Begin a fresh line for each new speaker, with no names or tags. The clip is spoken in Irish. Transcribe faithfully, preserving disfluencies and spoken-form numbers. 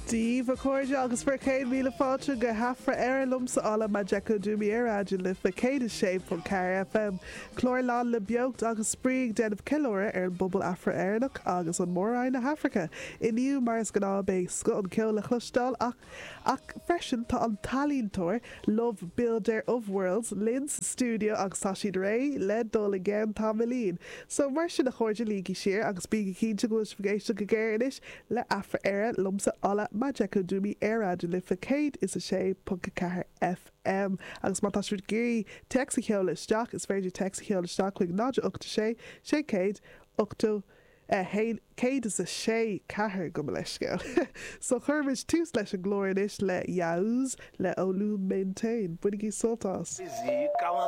Dia daoibh a chairde agus bhur gcéad míle fáilte go hAfra Éire liomsa Ola Majekodunmi ar Raidió na Life céad a sé ponc ceathair FM. Clár lán le beocht agus spraoi ag déanamh ceiliúradh ar an bpobal Afra-Éireannach agus an mór-roinn na hAfraice. Inniu mar is gnáth beidh scoth an ceol le cloisteáil ach ach freisin tá an t-ealaíontóir Love Builder of Worlds linn sa stiúideo agus tá siad réidh le dul i gceann tamaillín. So mar sin a chairde luígí siar agus bígí cinnte go bhfuil sibh ag éisteacht go géar anois le Afra Éire liomsa Ola Majekodunmi ar Raidió na Life céad is a sé ponc a ceathair FM. Agus má tá sibh ag iarraidh téacs a sheoladh isteach is féidir téacs a sheoladh isteach chuig náid ocht sé sé céad ochtó a haon céad is a sé ceathair gabh mo leithscéal. So cuirimid tús leis an gclár anois le Yaouz le Olu Maintain. Bainigí sult as.